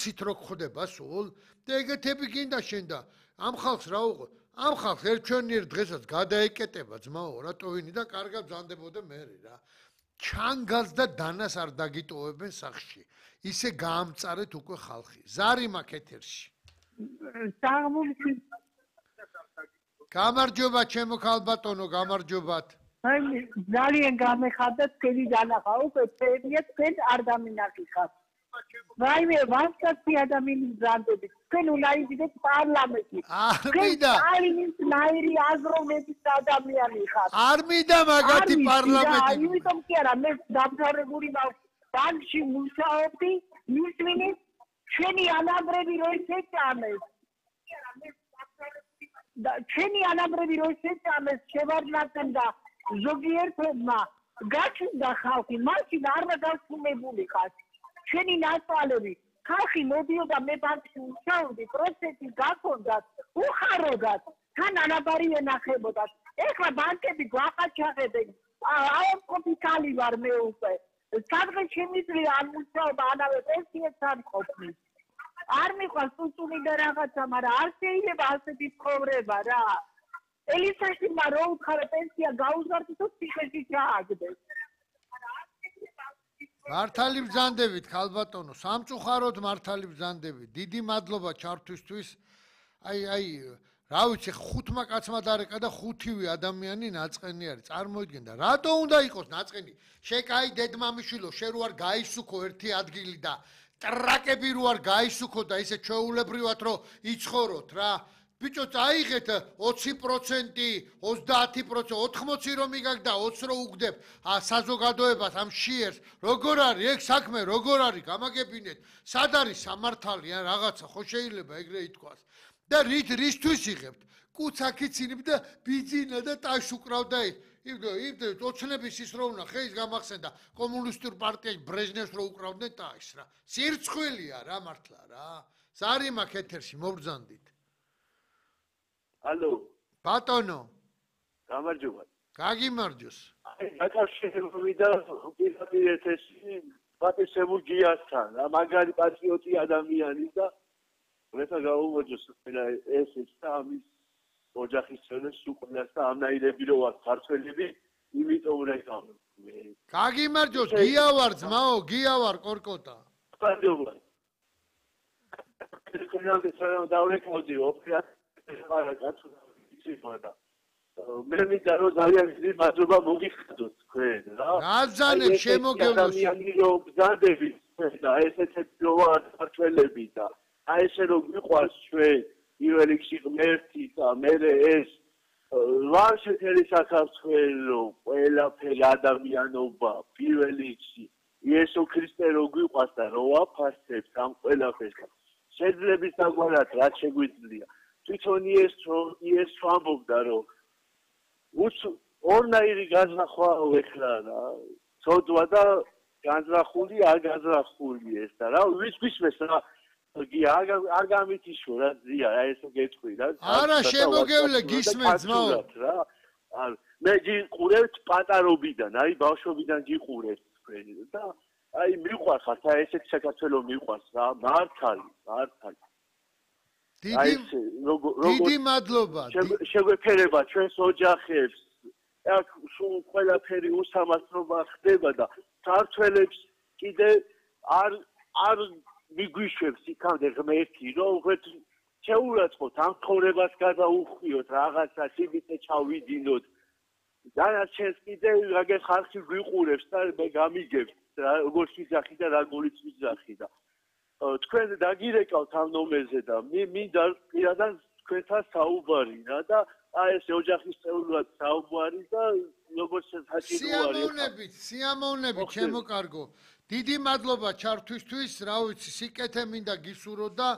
ციტრო ხდება სულ და ეგეთები გინდა შენ და ამ ხალხს რა უყო ამ ხალხს ერთჩვენიერ დღესაც გადაეკეტება ძმაო რატოვინი და კარგად ბრძანდებოდა მე რა ჩანგალს და დანას არ დაგიტოვებენ სახში ისე გაამწარეთ უკვე ხალხი ზარი მაქვს ეთერში გამარჯობა ჩემო ქალბატონო გამარჯობათ აი ძალიან გამეხარდა თქვენი დანახა უკვე თქვენიეთ თქვენ არ დამინახიხართ ვაიმე ვასკაცი ადამიანის ბრანდები თქვენ უნდა იდეთ პარლამენტში არმიდა ალინის ნაირი აზროვნების ადამიანი ხართ არ მინდა მაგათი პარლამენტი იმიტომ კი არა მე დამთავრებული ბანკში მუშაობდი მისმინის ჩვენი ანაბრები რო შეჭამეს და ჩვენი ანაბრები რო შეჭამეს შევარდნათან და ზოგიერთმა გაჩნდა ხალხი მაშინ არ დაგასრულებულიყავ ჩვენი ნაცვალები ხალხი მოდიოდა მე ბანკში მუშაობდი პროცესი გაქონდათ უხაროდათ თან ანაბარი ენახებოდათ ეხლა ბანკები გვაყაჩაღებენ აუპიტალი ვარ მე უკვე სადღაც შემიძლია არ მუშაობა ანავე პენსიებს არ ყოფნის არ მიყვარს უწუნი და რაღაცა მაგრამ არ შეიძლება ასეთი ცხოვრება რა ელისაშიმა რო უთხარ პენსია გაუზარდეთ თუ ციხეში ჩააგდეს მართალი ბრძანდებით ქალბატონო სამწუხაროდ მართალი ბრძანდებით დიდი მადლობა ჩართვისთვის აი რა ვიცი ხუთმა კაცმა დარეკა და ხუთივე ადამიანი ნაწყენი არის წარმოიდგინდა რატო უნდა იყოს ნაწყენი შენ კაი დედმამიშვილო შენ რო არ გაისუქო ერთი ადგილი და ტრაკები რო არ გაისუქო და ისე ჩვეულებრივად რო იცხოვროთ რა ბიჭო წაიღეთ 20%, 30%, 80 რომ იგაგ და 20 რო უგდებ საზოგადოებას ამ შიერს როგორ არის ეგ საქმე როგორ არის გამაგებინეთ სად არის სამართალი ან რაღაცა ხო შეიძლება ეგრე ითქვას და რისთვის იღებთ კუცაკიც ინებ და ბიძინა და ტაშ უკრავდა იმ ოცნების ის რო უნდა ხეის გამახსენდა კომუნისტურ პარტიაში ბრეჟნევს რო უკრავდნენ ტაშს რა სირცხვილია რა მართლა რა ზარი მაქვს ეთერში მობრძანდით ალო ბატონო გამარჯობა გაგიმარჯოს აი დაკავშირებული და პირდაპირ ეთერში პატრიოტულ გიასთან რა მაგარი პატრიოტი ადამიანი და მეთა გაუმოჯოს ეს ამის ოჯახის წევრებს უყურებს და ამნაირები რო ვარ ქართველები იმიტომ რეკავ გაგიმარჯოს გიავარ ძმაო გიავარ კორკოტა პარდობა ეს დავრეკავდი მე მინდა რომ ძალიან დიდი მადლობა მოგიხადოთ თქვენ რა გაზანებ შემოგევლოს ადამიანი რომ ბრძანდებით და ესეთი რო ვარ ქართველები და აი ესე რომ მიყვარს ჩვენ პირველ რიგში ღმერთი და მერე ეს ვარშეთელი საქართველო ყველაფერი ადამიანობა პირველ რიგში იესო ქრისტე რო გვიყვარს და რო ვაფასებს ამ ყველაფერს შეძლების დაგვარად რაც შეგვიძლია თვითონ იესო ამბობდა რომ ორნაირი განზრახვა ეხლა რა ცოდვა და განზრახული არ განზრახული ეს და რა ვის გვისმეს რა არ გამითიშო რა ზია ესო გეტყვი რა არა შემოგევლე გისმენთ ძმაო რა მე გიყურებთ პატარობიდან აი ბავშვობიდან გიყურებთ თქვენ და აი მიყვარხართ აი ესეთ საქართველოს მიყვარს რა მართალი დიდი მადლობა შეგვეფერება ჩვენს ოჯახებს აქ სულ ყველაფერი უსამართლობა ხდება და ქართველებს კიდე არ მიგვიშვებს იქამდე ღმერთი რომ შეურაცხოთ ამ ცხოვრებას გადაუხვიოთ რაღაცა სიბიტე ჩავიდინოთ დანარჩენს კიდე რაგენ ხალხი გვიყურებს და მე გამიგებთ როგორც ვიზახი და როგორიც ვიზახი და თქვენ დაგირეკავთ ამ ნომერზე და მინდა პირადად თქვენთან საუბარი რა და აი ეს ოჯახის წევრად საუბარი და როგორც საჭიროა სიამოვნებით ჩემო კარგო დიდი მადლობა ჩართვისთვის რა ვიცი სიკეთე მინდა გისურვო და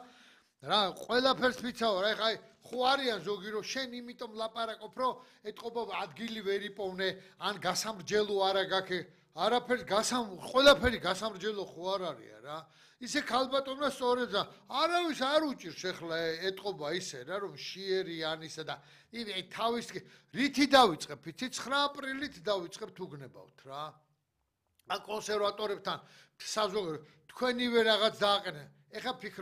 რა ყველაფერს ვიცავ რა ხა ხო არიან ზოგი რომ შენ იმიტომ ლაპარაკობ რომ ეთყობა ადგილი ვერ იპოვნე ან გასამრჯელო არა გაქე არაფერს ყველაფერი გასამრჯელო ხო არ არის რა ისე ქალბატონმა სწორედ და არავის არ უჭირს ახლა ეთყობა ისე რა რომ შიერი ან ისე და თავის რითი დავიწყებ 9 აპრილით დავიწყებ უგნებავთ რა კონსერვატორებთან საზოგადო თქვენივე რაღაც დააყენე ეხა